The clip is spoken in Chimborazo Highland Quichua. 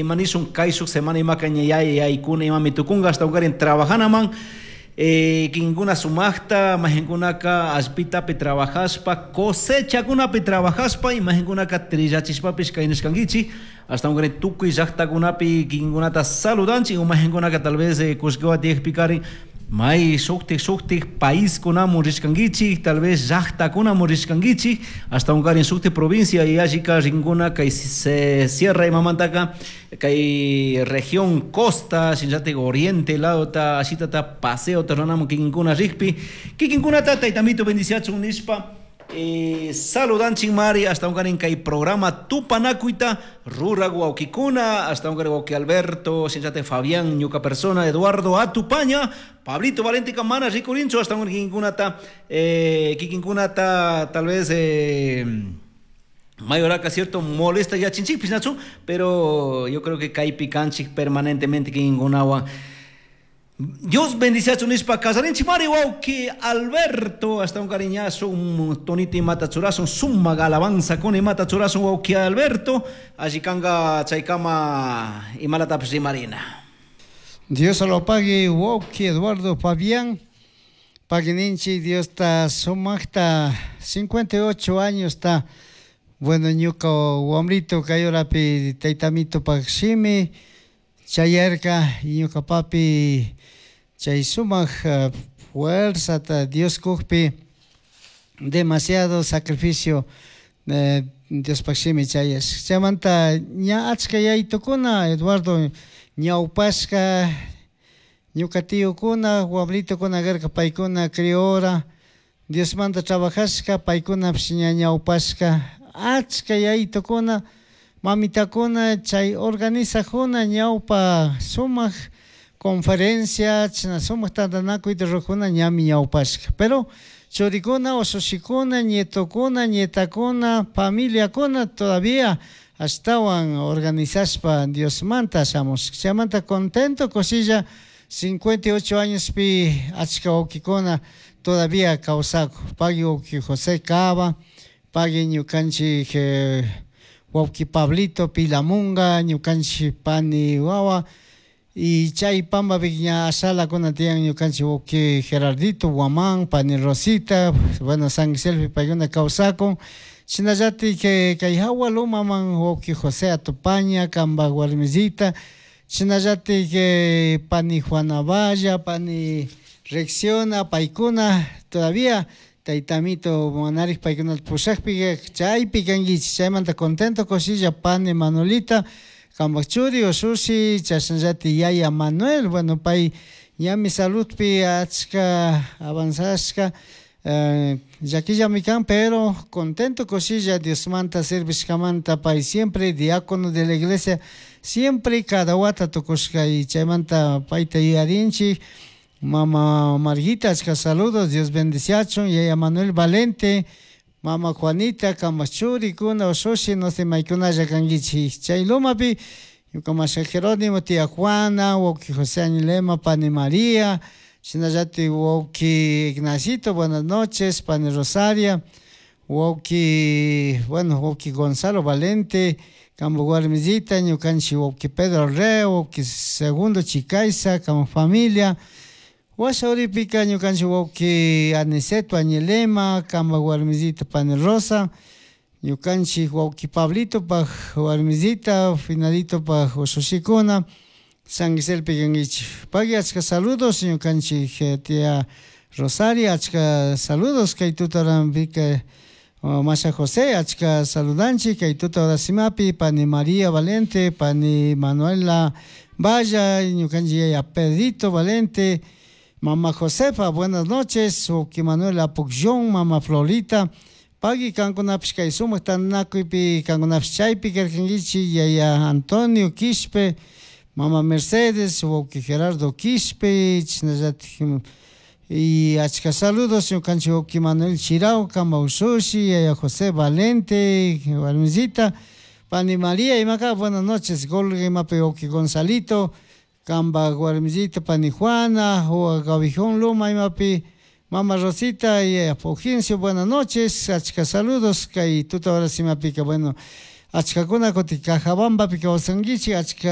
Imanishun kayshuk semana imaka ña yaykuna imami tukunka ashtawankarin trabajanaman kinkuna sumaqta mahinkunaka allpitapi trabajashpa cosechakunapi trabajashpa imahinkunaka trillachishpapish kaynishkankichik ashtawankarin tukuy llaktakunapi kikinkunata saludanchik umahinkunaka tal vez kullkiwan tiyakpikarin may shuktik shuktik paiskunamun rishkankichik tal vez llaktakunamun rishkankichik ashtawankarin shuktik provincia yallika rinkuna kay sierra imamantaka kay región costa shinallatik oriente ladota ashitata paseota ruranamun kikinkuna rikpi kikinkunata taytamito bendiciachun nishpa saludanchik mari ashtawankarin kay programa tupanakuyta rurak wawkikuna ashtawankarin wawki Alberto shinallatik Fabián ñuka persona Eduardo Atupaña Pablito Valente mana rikurinchu ashtawankarin kikinkunata kikinkunata tal vez mayoraka cierto molesta yachinchikpish nachu pero yo creo que kaypi kanchik permanentemente kikinkunawan Dios bendiciachun nishpa kasarinchik mari wawki Alberto hasta un cariñazo un tonito imata churasun sumak alabanza kuna imata churasun wawki Alberto alli kanga chaykama imalatapish rimarina. Dios lo pague wawki Eduardo Fabián pagui Dios ta sumakta 58 años ta bueno ñuka wamrito kay horapi taytamito pak shimi chayarka ñuka papi chay sumak fuerzata Dios kukpi demasiado sacrificio Diospak shimi chayash chaymanta ña achka yaytukuna Eduardo ñawpashka ñuka tiyukuna wamritukuna karka paykuna criora Diosmanta trabajashka paykunapish ña ñawpashka achka yaytukuna mamitakuna chay organizajuna ñawpa sumak conferencia chashna sumak tantanakuyta rurajuna ñami ñawpashka pero churikuna ushushikuna nietokuna nietakuna familiakuna todavía ashtawan organizashpa Diosmanta shamushka chaymanta contento kushilla 58 añospi achka wawkikuna todavía kawsakun pagui wawki José Cava pagui ñukanchik wawki Pablito Pilamunga ñukanchik pani wawa y chay pampapi ña ashalakuna tiyan ñukanchik wawki Gerardito Guamán pani Rosita bueno San Giselpi paykuna kawsakun shinallatik kay hawa lumaman wawki José Atupaña kanpak warmisita shinallatik pani Juana Valla pani Recciona paykuna todavía taytamito manarik paykunata pushakpi chaypi kankichik chaymanta contento kushilla pani Manolita kanpak churi ushushi chashnallatik yaya Manuel bueno pay ñami saludpi achka avanzashka llakillami kan pero contento kushilla Diosmanta servishkamanta pay siempre diácono de la iglesia siempre cada wata tukushka y chaymanta payta yuyarinchik mama Margita achka saludos Dios bendiciachun yaya Manuel Valente mama Juanita kanpak churikuna ushushi no sé maykunalla kankichik chay lumapi ñuka masha Jerónimo tía Juana wawki José Añilema pani María shinallatik wawki Ignacito buenas noches pani Rosaria wawki bueno wawki Gonzalo Valente kanpak warmisita ñukanchik wawki Pedro Reo wawki Segundo Chicaiza kanpak familia washa uripika ñukanchik wawki Aniceto Añilema kanpak warmisita pani Rosa ñukanchik wawki Pablitopak warmisita Finaditopak ushushikuna San Giselpi kankichik pagui achka saludos ñukanchik tía Rosaria achka saludos kay tutaranpika masha José achka saludanchik kay tuta horasimapi pani María Valente pani Manuela Valla ñukanchik yaya Pedrito Valente mama Josefa buenas noches wawki Manuel Apucllón mama Florita pagui kankunapish kay sumak tantanakuypi kankunapish chaypi karkankichik yaya Antonio Quishpe mama Mercedes wawki Gerardo Quishpe chashnallatik y achka saludos ñukanchik wawki Manuel Chirao kanpak ushushi yaya José Valente warmisita pani María imaka buenas noches Golga imapi wawki Gonzalito kanpak warmisita pani Juana Gabijón Luma imapi mama Rosita y Fulgencio buenas noches achka saludos kay tuta horas imapika bueno. Achkakuna kutin Cajabambapi kawsankichik achka.